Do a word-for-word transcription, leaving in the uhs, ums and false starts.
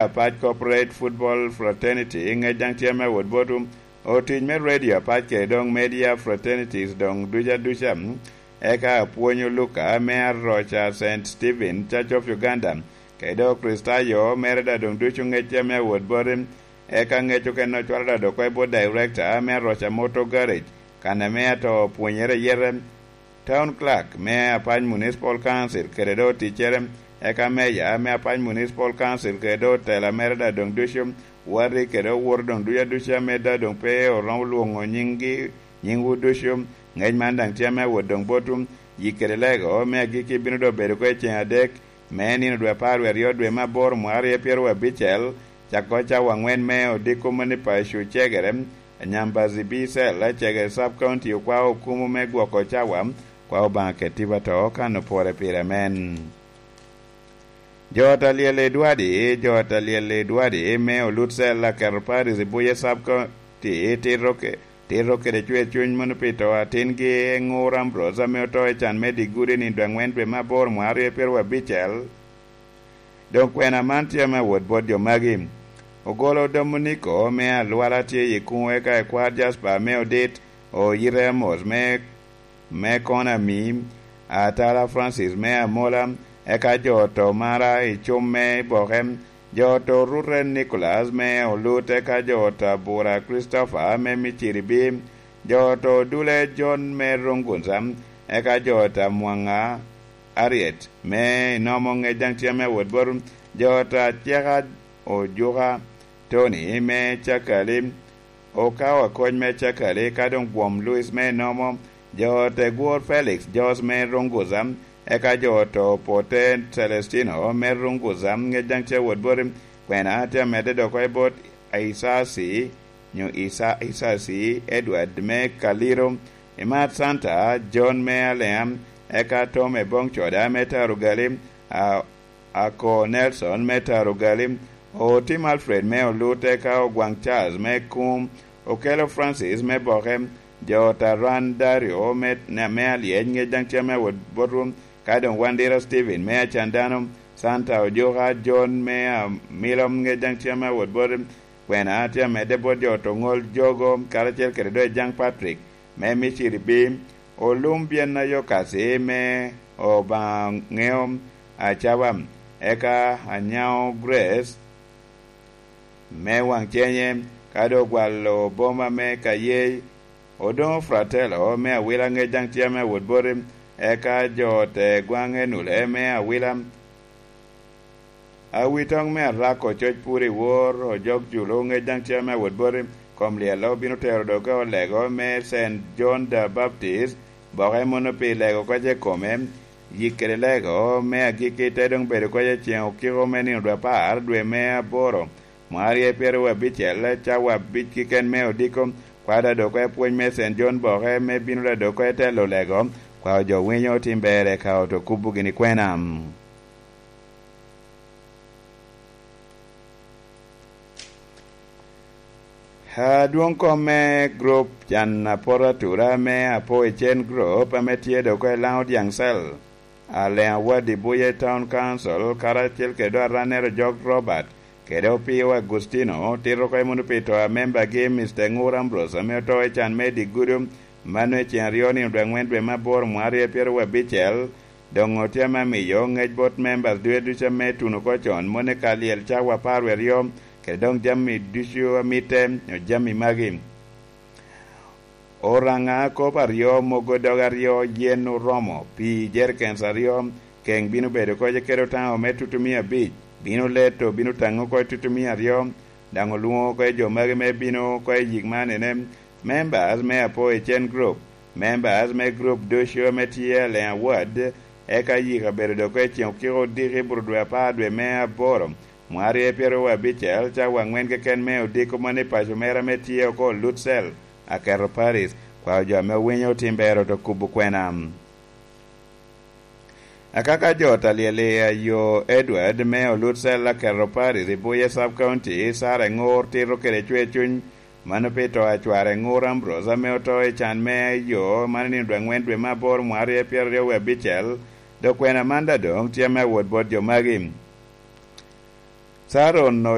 apac Corporate Football Fraternity, ŋec daŋ tye me wot botwu. Otic me radio apac kede doŋ media fraternities doŋ duca duca, eka apwony Luka me aroca Saint Stephen Church of Uganda, kede doŋ Kricitayo mere da doŋ ducu ŋec tye me wot boti. Eka ŋec okene ocwalo da doŋ oko i bot director me aroca Motor Garage, kan ame ato pwonyere yete. Town Clerk me Apac Municipal Council kede doŋ oticcere, eka Meya me Apac Municipal Council kede doŋ otela mere da doŋ ducu, wati kede owoto doŋ ducu aduca ame da doŋ pe oromo lwoŋo nyiŋgi, nyiŋwu ducu. Ŋec man daŋ tye ame awot doŋ botwu. Yik kede lego me agikki bino doŋ bedo oko i ceŋ adek, me nino dwe apar wie aryo dwe me aboro mwaka aryo pyeraryo abicel, cako cawa aŋwen me odiko moni paco cegere, Nyambazi B Cell, cegere Sub County okwao okumu me gwoko cawa, kwao Obaŋa ket tipo ato kan opore pire amen. Jo ot a lyel i Dwadi, jo ot a lyel i Dwadi me olut cell aketo Paris i Buye Sub County tito ke-, tito kede cwer cuny mono pi to atingi Eŋur Ambrose ame oto i can me digudi ni dwe aŋwen dwe me aboro mwaka aryo pyeraryo abicel. Doŋ kwena man tye ame awot bot jo magi. Ogolo Dominiko me Alwala tye i kuŋ eka i kwar Jasper me Odit, Oyite Amos me, me Konami, Atala Francis me Amola, eka jo oto mara i cum me Boke, jo oto Rute Nicholas me Olut, eka jo oto Abura Christopher me Miciribi, jo oto Dule John me Rungunza, eka jo oto Amwaŋa Ariet me Inomo ŋec daŋ tye ame awot bot jo oto Aceka Ojuka Tony me Cakali, Okawa Koc me Cakali, ka doŋ Gwom Louis me Inomo, jo oto Egwor Felix Jos me Runguza, eka jo oto Pote Celestino me Runguza ŋec daŋ tye awot boti, kwena tye amedde dok oko i bot Isasi, nyo Isa-, Isasi Edward me Kaliro, Imat Santa John me Alea, eka Tom Ebong Coda me Tarugali, a, Ako Nelson me Tarugali, Otim Alfred me Olut, eka Ogwaŋ Charles me Kum, Okelo Francis me Boke, jo Taran Dario me, me Alyec, ŋec daŋ tye ame awot botwu, ka doŋ Wandira Stephen me Acandano, Santa Ojuka John me Amilom, ŋec daŋ tye ame awot botwu, kwena tye amedde bot jo oto Ŋol Jogo, karacel kede doŋ Ejaŋ Patrick me Miciribi, Olum Byen Ayokasi me Obaŋa Ŋeo Acaba, eka Anyaŋo Grace me Waŋcenye, ka doŋ ogwalo boma me Kayey, Odoŋo Fratello me Awila ŋec daŋ tye ame awot boti, eka jo ote Gwaŋ Enule me Awila. Awitoŋ me Arako coc pur i wor, ojok Julu ŋec daŋ tye ame awot boti, kom lyello bino tero doge olego me Saint John the Baptist, boke mono pi lego koc i kome, yik kede lego me agikki te doŋ bedo koc i ceŋ okiko me nino dwe apar, dwe me aboro, mwaka aryo pyeraryo abicel, cawa abic keken me odiko, kwada doŋ oko i pwony me Saint John boke me bino da doŋ oko i telo lego, kwao jo winyo otim berre ka oto kubo gini kwena. Adwoŋ kom me grup can apot atura me Apo Ecen Group ame tye doŋ oko i Laŋo Dyaŋ Cell, Aleŋ Awadi Buye Town Council, karacel kede doŋ arannere Jok Robert, kede Opio Agustino, tito oko i muno pi to a membagi Mister Ŋur Ambrose ame oto i can me Digudu, mano i ceŋ aryo nino dwe aŋwen dwe me aboro mwaka aryo pyeraryo abicel, doŋ otye ame amiyo ŋec bot members ducu ducu ame tuno oko con, mono i ka lyel cawa apar wie aryo, kede doŋ jami ducu a mitte, nyo jami magi. Oraŋa kop aryo, mogo dog aryo, yen oromo, pii jerikens aryo, keŋ bino bedo oko i kede otaŋo me tutumia abic, bino leto, bino taŋo oko i tutumia aryo, daŋ olwoŋo oko i jo magi me bino oko i yik man ene, members me Apo Ecen Group, members me group ducu ame tye Aleŋ Award, eka yik abedo doŋ oko i ceŋ okiko odiki i bur dwe apar dwe me aboro, mwaka aryo pyeraryo abicel, cawa aŋwen keken me odiko man i paco mera ame tye oko Lutsel, aketo Paris, kwao jo ame owinyo otim ber oto kubo kwena. Akaka jo ot alyel i ayo Edward me Olutsel aketo Paris i Buye Sub County, Sara Eŋur tito kede cwer cuny, mano pi to a cware Eŋur Ambrose ame oto i can me ayo, mano nino dwe aŋwen dwe me aboro mwaka aryo pyeraryo wie abicel, dok kwena man da doŋ tye ame awot bot jo magi. Caron